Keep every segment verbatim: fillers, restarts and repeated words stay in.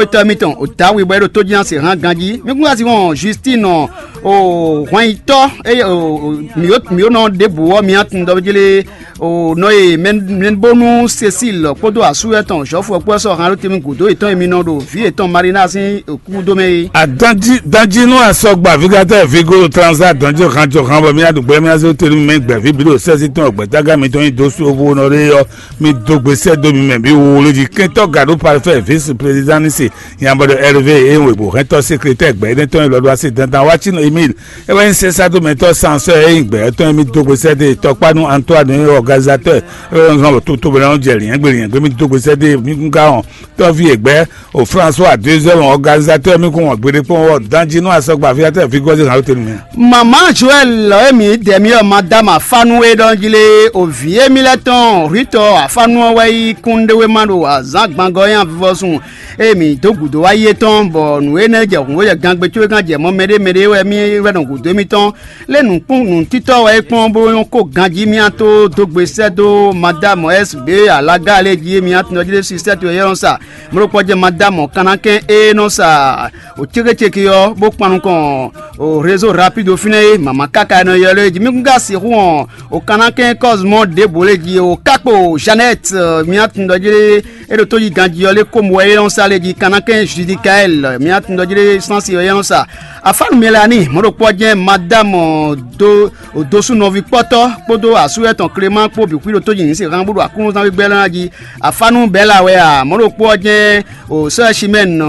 Tɔ́ mitɔn o Dawi bɔ é ɖo tójínásí hán ganjí. Mi kún asi wɔn Justine o hwanyitɔ́ eye o mǐyó mǐyó nɔ ɖěbǔ ɔ́ mi atun ɖɔ jlé o nɔ e mɛnbónú Cécile kpódó asú etɔn Jɔ́fu ɔ́ kpó ɛ sɔ́ hán ɖó temi gǔdo yětɔn e mi nɔ ɖo vǐ yětɔn Marina sín kúdó mɛ é. Adanji danji nú asɔgba vigatɔ vigo transa dɔnjɔ hanjɔ han bɔ mi aɖu gbɛ mi azé tenu mɛ gbɛvi bi ɖo sɛsi tɔn gbɛtaga mitɔn nyi dó su ovo nɔ ɖe yɔ. Mi dó gbe sɛ dó mi mɛ bi wo lódzi kɛntɔ gado parfait vice président ni se yabɔdɔ hervé e wegbo hɛntɔ secrétaire gbɛ ne tɔn lɔdɔ asi dandan watsi nɔ emile e wɛ nyi sesa do mɛtɔ sansɔ e nyi gbɛ tɔn mi dó gbe sɛ de tɔkpanu antoine e organisateur e wɛ nɔ zɔn toto bɛ na jɛ liɛngbe liɛngbe mi dó gbe sɛ de mi kun ka hɔn tɔvi e gbɛ o françois deuxième organisateur mi kun hɔn gbeɖe kpɔn wɔ danji nɔ asɔgba aviateur vigɔzi hàn lóte nu mɛ. Mama Joel emi dɛmi ɔ madame afanu e ɖɔ jí lé o vǐ émí lɛ́ tɔn rítɔ afanu ɔ́ wɛ yí kúnɖéwéma ɖo azǎn gbangɔ nyi avivɔsun emi dó gǔdo wá yi étɔn bɔ nǔ énɛ́ jɛ hǔn jɛ gangbe có é gán jɛ mɔ mɛɖé mɛɖé wɛ mí wɛ nɔ gǔdo émítɔn lé nǔkpún nǔtítɔ́ wɛ é kpɔ́n bó nyɔ́ kó ganjí mía tó dó gbe sɛ́ dó madame s b alaga lé jí mía tɔn jí lé si sɛ́ to yɛ́ nɔ sa mló kpɔ́ jɛ madame kanakɛn e nɔ sa o cékécéké ɔ́ bó kpan nukɔn o réseau rapide fínɛ́ é mama káká e nɔ ylɔ́ é jí mí kún ka sixú hɔn o kanakɛn kɔzmɔ ɖěbǔ lé jí o kákpo jeannette mía tun ɖɔ jí é ɖo tó yi ganjí ɔ́ lé kómo wɛ é nɔ sa lé jí kanakɛn judikael mía tun ɖɔ jí sansi ɔ́ é nɔ sa afánu mɛlani mɔ̌ ɖokpó ɔ́ jẹ́ madame do odosunɔvi kpɔ́tɔ́ kpódó asú etɔn Clément kpó bǐ xwí ɖo tó jí ní se hán bó ɖo akúnnúzán gbígbɛ́ lɔ́ ná jí. Afánu bɛ́la wɛ a mɔ̌ ɖokpó ɔ́ jẹ́ o sɔ́ Chimène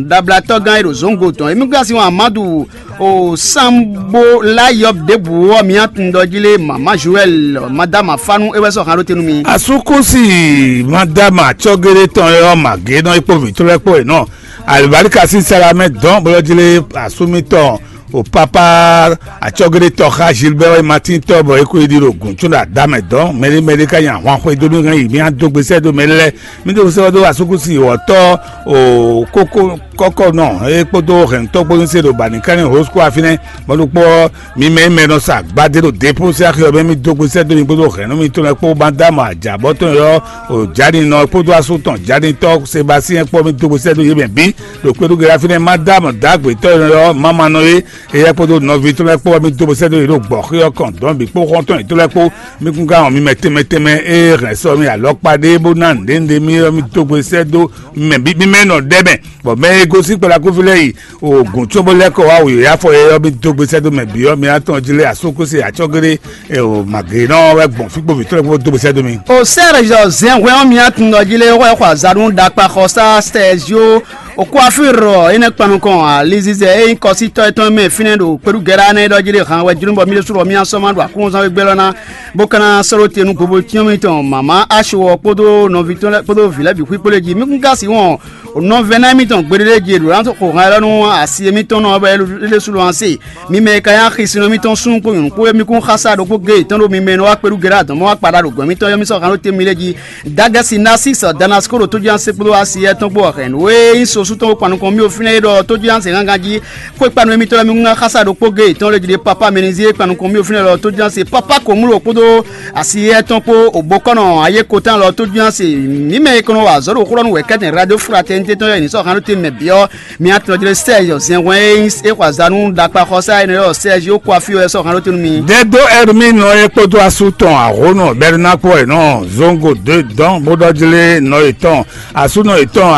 ɖablatɔ́gán e ɖo zǒngo tɔn émí gán sin amadu o sanbo layɔb ɖěbǔ ɔ́ mǐ atun ɖɔ jí lé mama Joël madame Afánu é wɛ sɔ́ hán ɖó te nú mi. Asúkúsi madama acɔ́géɖé tɔn e ɔ́ magě nɔ é kpó vǐtɔ́ lɛ́ɛ kpó è nɔ. Alibalika sín sala mɛ dɔn bó lɔ́ jlé asúmítɔn o papa acɔ́géɖé tɔ́ xá Gilbert Martin tɔ́ bɔ é kó yi ɖi ɖo gǔn có ɖo adá mɛ dɔn mɛɖé mɛɖé ká nyi ahwan xwedó mì hɛn yi mì adó gbe sɛ́ dó mɛ lɛ́ɛ mì dó sɛ́ dó asúkúsi wɔ̌tɔ́ o kókó kɔ́kɔ́nɔ é kpódó hɛ̌ntɔ́ kpó ní se ɖo bǎnikánní hosukú afínɛ́ bɔ ɖokpó ɔ́ mi mɛ mɛ nɔ sa gbadé ɖo dépósí axi ɔ́ mɛ mì dó gbe sɛ́ dó mi kpódó hɛ̌nnú mitɔn lɛ́ɛ kpó bá dó amɔ ajǎbɔ́tɔn ɔ́ o jǎɖinɔ kpódó asú tɔn jǎɖintɔ́ Sebasiyɛn kpó mì dó gbe sɛ́ dó yě mɛ bǐ ɖo kpéɖúgbe afínɛ́ má dó amɔ dǎgbětɔ́ ɔ́ má ma nɔ é. Éyɛ́ kpódó nɔví tɔn lɛ́ɛ kpó wɛ mì dó bó sɛ́ dó yě ɖo gbɔ̌xé ɔ́ kɔn dɔ̌n bǐ kpó xɔ́ntɔn yětɔn lɛ́ɛ kpó. Mì kún ka wɔn mi mɛ tɛnmɛ tɛnmɛ e hɛn sɔ mi alɔkpa ɖé bó ná nǔɖé nǔɖé mì ɔ́, mì dó gbe sɛ́ dó mɛ bǐ mì mɛ nɔ ɖɛ mɛ, bɔ mɛ e gosín kplakúví lɛ́ɛ yi oògùn cóbó lɛ́ kɔ wá wǔyá fɔ é ɔ́, mì dó gbe sɛ́ dó mɛ bǐ ɔ́, mi atɔn jí lé asókúsi acɔ́géɖé o màgěnɔ wɛ gbɔn fí kpó vǐtɔ́ lɛ́ɛ kpó dó gbe sɛ́ dó mi. O Serge Zɛnhwɛn ɔ́, mi atun nɔ jí lé wɛ xɔ azǎn nú ɖakpaxɔsá Sergio Okwafir ɔ́, é nɛ́ kpan nukɔn alizizɛ e nyí kɔsítɔ́ étɔn mɛ fínɛ́ ɖo kpeɖúgɛ́ɖá nɛ́ ɖɔ jí ɖe han wɛ jló bɔ mí ɖésú ɖɔ mí asɔ́ ma ɖo aklúnɔzán wegbe lɔ ná, bó ka ná sɔ́ ɖó te nú gbobocyɔ́n mitɔn mama Aso ɔ́ kpódó nɔví tɔn lɛ́ɛ kpódó vǐ lɛ́ɛ bǐ xwíkpó lé jí. Mí kún ka sixú wɔn nɔvɛ́ná mitɔn gbeɖé jí ɖo ná xo han élɔ́ nú asi émítɔn nɔ ɔ́ bɔ é ɖésú ɖo ase. Mi mɛ e ka nyí axisínɔ mitɔn súnnu kpó nyɔ̌nu kpó é mí kún xásá ɖokpó géé tɔn ɖo mi mɛ e nɔ wá kpeɖúgɛ́ɖá dɔ̌n mɔ wá kpaɖá ɖo gɔ̌n mitɔn yɔ́ mí sɔ́ han ɖó te mi lé jí. Dagɛsi Nasisɔ Danasko ɖo tójúnásé kpódó asi yɛ́ tɔn kpó ɔ́ hɛn nǔ e nyí so sú tɔn kpó kpan nukɔn mì fínɛ́ é ɖɔ tójúnásé gángan jí. Xwé kpanu émítɔn lɛ́ɛ mi ŋun xásá ɖokpó géé tɔn lé jí ɖe papa mɛnizí e kpan nukɔn mì fínɛ́ ɖɔ tójúnásé papa Komúlo kpódó asi yɛ́ tɔn kpó ògbókɔ́nɔ ayékotán lɔ tójúnásé mǐ mɛ e kɔn nɔ wa azɔ̌ ɖo xó ɖɔ nú wɛ̌kɛ́tɛn radio fraternité tɔn yɔ́ nyǐ sɔ́ han ɖó te mɛ bǐ ɔ́. Mi atɔn jlé Serge Zɛnhwɛn e nyí é xɔ azǎn nú ɖakpaxɔsá énɛ́ ɔ́ Serge ó kó afí wɛ sɔ́ han ɖó te nú mi. Dɛdó Hermine ɔ́ é kpódó asú tɔn ahónɔ Bɛrina kpó wɛ nɔ Zongo dó dɔn bó ɖɔ jlé nɔ yětɔn asúnɔ yětɔn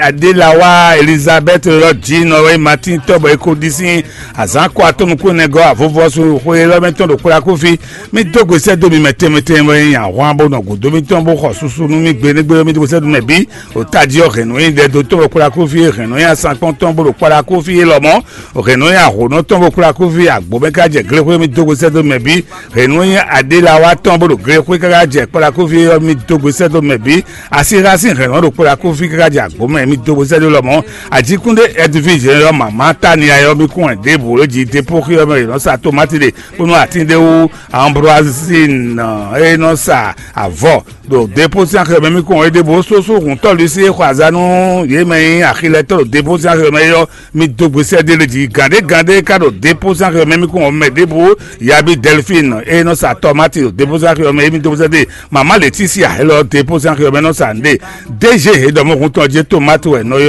Adélawa Elizabeth ɔ́ jí nɔ wɛ Martin tɔ́ bɔ é kó ɖi sín azǎn kó atɔ́ nukúnnɛgɔ́ avɔvɔ́sú xwé élɔ́ mɛ tɔn ɖo kplá kúfí. Mi dó gbe sɛ́ dó mi mɛ tɛnmɛ tɛnmɛ wɛ nyí ahwan bó nɔ gǔdo mitɔn bó xɔ susu nú mi gbe nú gbe mi dó gbe sɛ́ dó mɛ bǐ. O tají ɔ́ hɛn nǔ e ɖɛdotɔ́ bɔ kplá kúfí e hɛn nǔ e asán kpɔ́ntɔ́n bó ɖo kplá kúfí e lɔmɔ̌. O hɛn nǔ e ahǒnɔtɔ́ bó kplá kúfí agbǒ mɛ ká jɛ glexwé mi dó gbe sɛ́ dó mɛ bǐ. Hɛn nǔ e aɖélawa tɔn bó ɖo glexwé káká jɛ kplá kúfí ɔ́ mi dó gbe sɛ́ dó mɛ bǐ. Asíxá sín hɛn nǔ ɖo kplá kúfí káká jɛ agbǒ mɛ mi dó gbe sɛ́ dó lɔmɔ̌. Ajíkúndé ɛdivizɛn ɔ́ mama tánia ɔ́ mi kún wɛn ɖěbǔ e jí dépóxí ɔ́ mɛ è nɔ sa tomáti ɖe bónú atín ɖé wú ambroazine e nɔ sa avɔ ɖo dépózín axi mɛ mì kún ɔ́ é ɖěbǔ sósó hǔntɔ́ Lusi e xɔ azǎn nú yě mɛ e nyí axilɛtɔ́ ɖo dépózín axi mɛ é ɔ́, mi dó gbe sɛ́ ɖé lě jí. Gǎn ɖé gǎn ɖé ka ɖo dépózín axi mɛ mì kún ɔ́ mɛ ɖěbǔ Yabi Delphine e nɔ sa tɔmáti ɖo dépózín axi mɛ é mi dó gbe sɛ́ ɖé. Mama Leticia élɔ́ dépózín axi mɛ nɔ sa nǔɖé. D G e ɖɔ mɔ̌ hun tɔn jí tomati wɛ nɔ